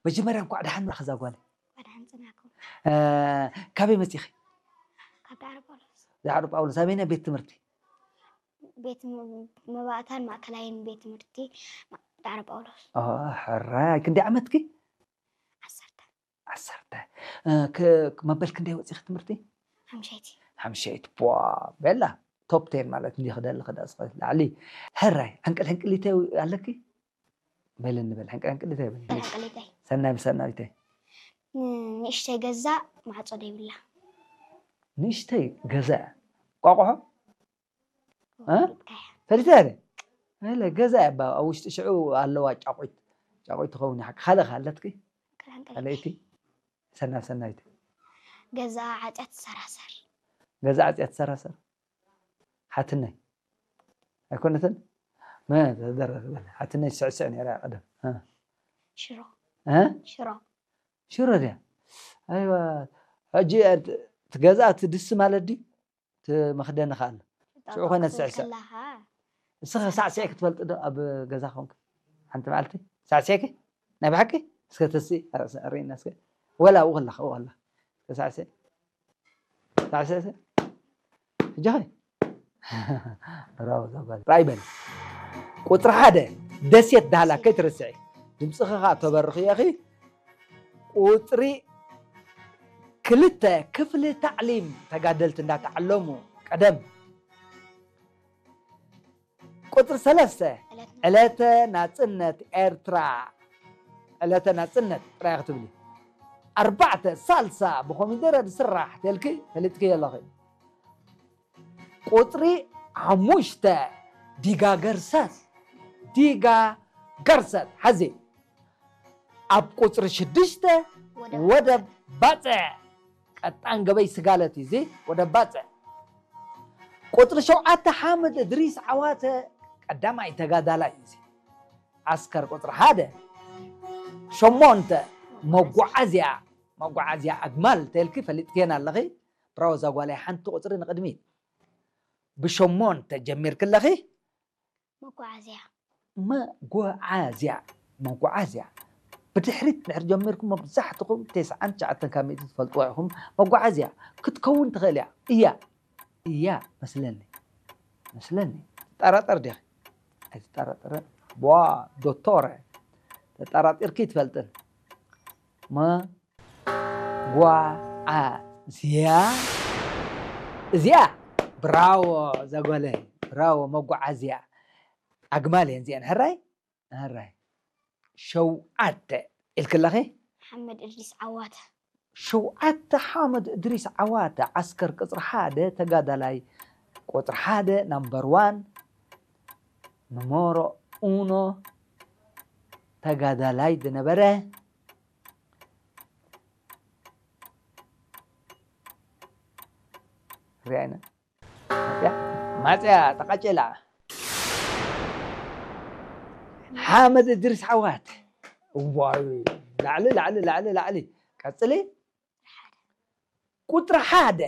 መጀመርያ እንኳዕ ደሓን መራኺ እዛ ጓለይ። ወድሓን ጽናኩም። እ፣ ካበይ መጺኺ? ካብ ዳዕሮ ጳውሎስ። ዳዕሮ ጳውሎስ ኣበይናይ ቤት ትምህርቲ? ቤት ም- መባእታን ማእከላይን ቤት ትምህርቲ ማ- ዳዕሮ ጳውሎስ። ኦ፣ ሕራይ ክንደይ ዓመትኪ? ዓሰርተ። ዓሰርተ። እ፣ ክ- መበል ክንደይ ወጺኺ ትምህርቲ? ሓምሸይቲ። ሓምሸይቲ ቧ። ቤላ ቶፕ ቴን ማለት እንዲ ክደሊ ክዳ ስኸት ላዕሊ። ሕራይ ዕንቅል ዕንቅሊተ ኣለኪ? በል እንበል ዕንቅል ዕንቅሊተ በል። ዕንቅሊተይ። ሰናይ ብሰናይተ። ን- ንእሽተይ ገዛ ማዕጾ ደይብላ። ንእሽተይ ገዛ ቋቋሖ? እ? ወዲብካያ። ፈሊተ ደ? እለ ገዛ እያ ባ ኣብ ውሽጢ ሽዑ ኣለዋ ጫቑት። ጫቑት ትኸውን እያ። ካልእ ከ ኣለትኪ? ዕንቅል ዕንቅሊተይ። ካልኣይቲ? ሰናብ ሰናይተ። ገዛ ዓጽያ ትሰራሰር። ገዛ ዓጽያ ትሰራሰር። ሓትነይ ኣይኮነትን? መ ተደረር በል። ሓትነይ ስዕስዕ ነይራ እያ ቀደም። እ? ሽሮ። እ? ሽሮ። ሽሮ ድያ? ኣይዋ። ሕጂ እቲ ገዛ እቲ ድስ ማለት ድዩ? እቲ መኽደኒ ከ ኣሎ። ሽዑ ኮነ ክትብል ስዕስዕ። ከላኻ እስኸ ሳዕስዕ ክትፈልጥ ዶ ኣብ ገዛ ኮንክ? ሓንቲ መዓልቲ ሳዕስዕኪ? ናይ ብሓቂ? እስከ ተስኢ ኣርእና እስከ። ወላ ኣብኡ ከለኻ ኣብኡ ከለኻ። እስከ ሳዕስዕ። ሳዕስዕ እስከ። ሕጂ ኸ? ብራቮ ዛጓል። ራይ በል። ቁጽሪ ሓደ ደሴት ዳህላ ከይትርስዒ። ድምጽኺ ኸኣ ተበርኽዮ ኢኺ። ቁጽሪ ክልተ ክፍሊ ታዕሊም ተጋደልቲ እንዳተዓለሙ ቀደም። ቁጽሪ ሰለስተ ዕለተ ናጽነት ኤርትራ። ዕለተ ናጽነት ጥራይ ክትብሊ። ኣርባዕተ ሳልሳ ብኮሚደረ ዝስራሕ ተልኪ ፈሊጥኪ ኣለኺ። ቁጽሪ ሓሙሽተ ዲጋ ገርሰት። ዲጋ ገርሰት ሓዚ። ኣብ ቁጽሪ ሽዱሽተ ወደብ ባጽዕ። ቀጣን ገበይ ስጋለት እዩ እዚ ወደብ ባጽዕ። ቁጽሪ ሸውዓተ ሓምድ እድሪስ ዓዋተ ቀዳማይ ተጋዳላይ እዩ እዚ። ዓስከር ቁጽሪ ሓደ። ሸሞንተ መጓዓዝያ፣ መጓዓዝያ ኣግማል ተልኪ ፈሊጥክየን ኣለኺ። ብራዎ እዛ ጓለይ ሓንቲ ቁጽሪ ንቕድሚት። ብሸሞንተ ጀሚርኪ ኣለኺ። መጓዓዝያ። መጓዓዝያ፣ መጓዓዝያ። ብድሕሪት ድሕሪ ጀሚርኩም መብዛሕትኹም ተስዓን ትሽዓተን ካብ ሚእቲ ትፈልጥዋ ኢኹም። መጓዓዝያ ክትከውን ትኽእል እያ። እያ። እያ መስለኒ። መስለኒ። ትጠራጠር ዲኺ? ኣይትጠራጠርን። ቧ ዶቶረ። ተጠራጢርኪ ትፈልጥን። መጓዓዝያ። እዚኣ። ብራዎ ዘጎለይ። ብራዎ መጓዓዝያ። ኣግማል እየን እዚአን። ሕራይ? ሕራይ። ሸውዓተ ኢልክለኺ? ሓመድ እድሪስ ዓዋተ። ሸውዓተ ሓመድ እድሪስ ዓዋተ ዓስከር ቅጽሪ ሓደ ተጋዳላይ ቁጽሪ ሓደ ናምበር ዋን ንሞሮ ኡኖ ተጋዳላይ ዝነበረ ሪኣይና ማፅያ ተቃጨላ ሓመድ እድሪስ ዓዋት ዋይ ላዕሊ ላዕሊ ላዕሊ ላዕሊ ቀፅሊ ቁፅሪ ሓደ